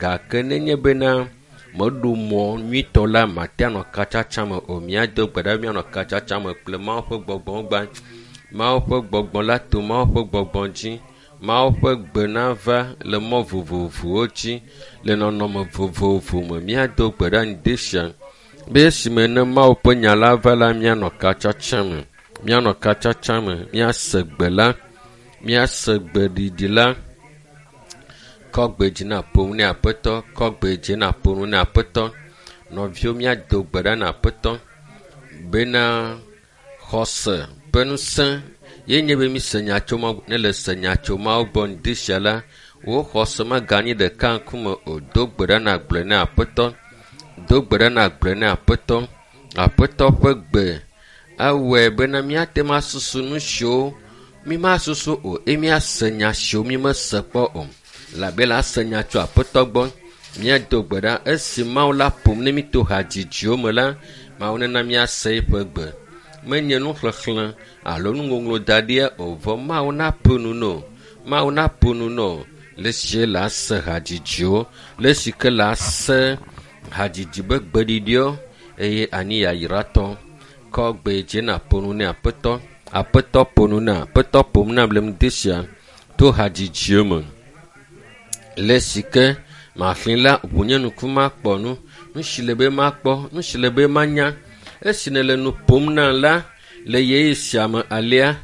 Gake nenye bena meɖo mɔ nyuitɔ la, mate anɔ katsatsa me o. Míado gbe ɖa be míanɔ katsatsa me kple Mawu ƒe gbɔgbɔ gbã. Mawu ƒe gbɔgbɔ la to Mawu ƒe gbɔgbɔ dzi. Mawu ƒe gbe nava le mɔ vovovowo dzi le nɔnɔme vovovo me. Míado gbe ɖa ŋdi sia be esime ne Mawu ƒe nya la va la, míanɔ katsatsa me. Míanɔ katsatsa me, míase gbe la, míase gbeɖiɖi la. Kɔ gbe dzi na ƒo nu ne Aƒetɔ, kɔ gbe dzi na ƒo nu ne Aƒetɔ. Nɔviwo míado gbe ɖa na Aƒetɔ bena xɔse ƒe ŋusẽ ye nye be míse nya tso Mawu ne le se nya tso Mawu gbɔ ŋdi sia la, wò xɔse meganyi ɖeka ŋkume o. Do gbe ɖa nàgblɔe ne Aƒetɔ. Do gbe ɖa nàgblɔe ne Aƒetɔ. Aƒetɔ ƒe gbe ewɔe bena míate ŋu asusu nu siwo mímasusu o eye míase nya siwo mímese kpɔ o. Labe la ase nya tso Aƒetɔ gbɔ. Míado gbe ɖa esi Mawu la ƒom ne mí to hadzidziwo me la, Mawu nena míase eƒe gbe. Menye nuxexlẽ alo nuŋɔŋlɔ da ɖia o vɔ Mawu naƒo nu nɔ. Mawu naƒo nu nɔ le esi la se hadzidziwo, le esi ke la se hadzidzi be gbeɖiɖiwo eye anyi yayratɔ. Kɔ gbe dzi nàƒo nu ne Aƒetɔ. Aƒetɔ ƒo nu na Aƒetɔ ƒom nam le ŋdi sia to hadzidziwo me. Le esi ke maxlẽ la, ʋu nye ŋku makpɔ nu, nu si le be makpɔ, nu si le be manya. Esi nèle nu ƒom nam la, le ɣeyiɣi sia me alea,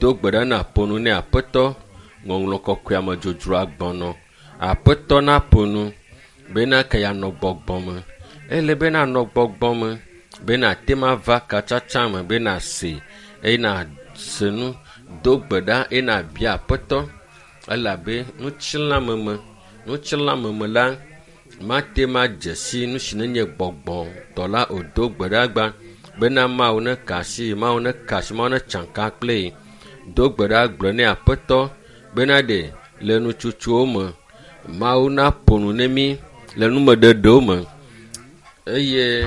do gbe ɖa nàƒo nu ne Aƒetɔ. Ŋɔŋlɔ kɔkɔea me dzodzroa gbɔnɔ. Aƒetɔ naƒo nu bena ke yeanɔ gbɔgbɔ me. Ele be nanɔ gbɔgbɔ me be nàte ŋu ava katsatsa me be nàse eye nàse nu. Do gbe ɖa eye nàbia Aƒetɔ elabe ŋutilãmeme, ŋutilãmeme la mate ŋu adze si nu si nenye gbɔgbɔ tɔ la o. Do gbe ɖa gbã bena Mawu neka asi, Mawu neka asi, Mawu netsa ka kple ye. Do gbe ɖa gblɔ ne Aƒetɔ bena ɖe le nutsotsowo me Mawu naƒo nu ne mí le numeɖeɖewo me eye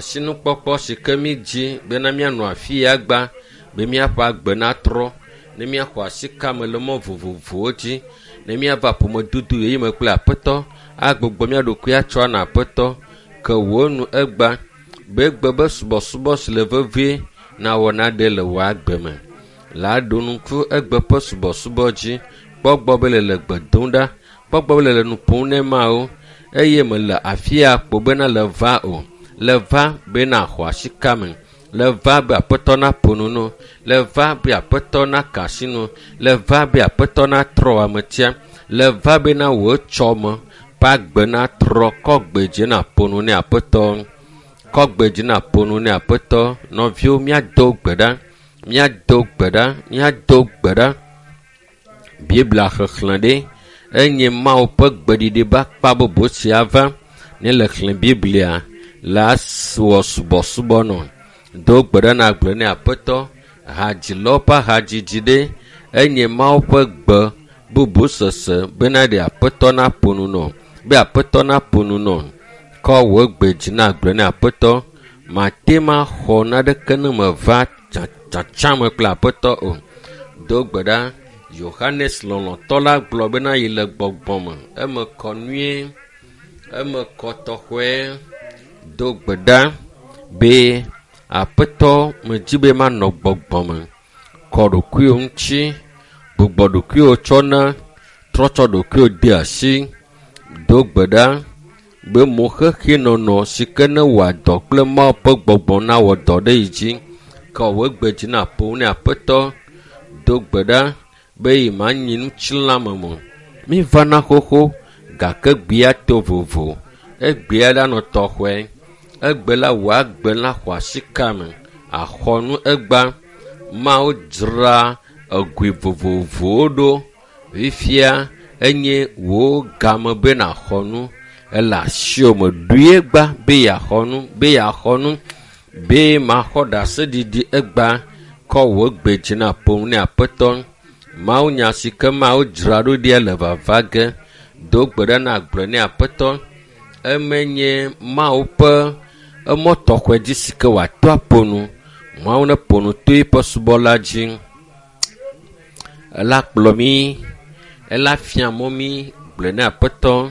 sinukpɔkpɔ si ke mí dzi bena míanɔ afi ya gbã be míaƒe agbe natrɔ, ne míaxɔ asi kame le mɔ vovovowo dzi, ne míava ƒomedodo yeye me kple Aƒetɔ, agbugbɔ mía ɖokui atsɔ ana Aƒetɔ. Ke wò nu egbã be egbe be subɔsubɔ si le vevie nawɔ naɖe le wò agbe me. La ɖo ŋku egbe ƒe subɔsubɔ dzi. Kpɔ gbɔ be le le gbe dom ɖa, kpɔ gbɔ be le le nu ƒom ne Mawu eye mele afi ya kpo bena le va o. Le va be nàxɔ asi kame. Le va be Aƒetɔ naƒo nu no. Le va be Aƒetɔ naka asi nu. Le va be Aƒetɔ natrɔ wò ametia. Le va bena wò etsɔme ƒe agbe natrɔ. Kɔ gbe dzi nàƒo nu ne Aƒetɔ. Kɔ gbe dzi nàƒo nu ne Aƒetɔ. Nɔviwo míado gbe ɖa. Míado gbe ɖa. Míado gbe ɖa. Biblia xexlẽ ɖe enye Mawu ƒe gbeɖiɖi be akpa bubu sia va. Ne le xlẽ Biblia la wɔ subɔsubɔ nɔ. Do gbe ɖa nàgblɔ ne Aƒetɔ hadzilawo ƒe hadzidzi ɖe enye Mawu ƒe gbe bubu sese bena ɖe Aƒetɔ naƒo nu nɔ. Be Aƒetɔ naƒo nu nɔ. Kɔ wò gbe dzi nàgblɔ ne Aƒetɔ mate ŋu axɔ naneke ne meva tsatsa me kple Aƒetɔ o. Do gbe ɖa. Yohanes lɔlɔ̃tɔ la gblɔ bena yi le gbɔgbɔ me. Eme kɔ nyuie, eme kɔ tɔxɔe. Do gbe ɖa be Aƒetɔ medzi be manɔ gbɔgbɔ me. Kɔ ɖokuiwò ŋuti, gbugbɔ ɖokuiwò tsɔ na, trɔ tsɔ ɖokuiwò de asi. Do gbe ɖa be moxexenɔnɔ si ke newɔa dɔ kple Mawu ƒe gbɔgbɔ nawɔ dɔ ɖe yi dzi. Kɔ wò gbe dzi nàƒo nu ne Aƒetɔ. Do gbe ɖa be yi manyi ŋutilãme me o. Mívana xoxo gake gbea to vovo. Egbea la nɔ tɔxɔe. Egbe la wò agbe la xɔ asi kame. Axɔ nu egbã. Mawu dzra egoe vovovowo ɖo. Fifia enye wò game be nàxɔ nu. Ele asiwò me. Ɖoe egbã be yeaxɔ nu, be yeaxɔ nu, be maxɔ ɖaseɖiɖi egbã. Kɔ wò gbe dzi nàƒo nu ne Aƒetɔ. Mawu nya si ke Mawu dzra ɖo ɖia le vava ge. Do gbe ɖa nàgblɔe ne Aƒetɔ. Eme nye Mawu ƒe emɔ tɔxɔe dzi si ke wòato aƒo nu. Mawu neƒo nu to eƒe subɔla dzi. Ela kplɔ mí, ela fia mɔ mí. Gblɔe ne Aƒetɔ.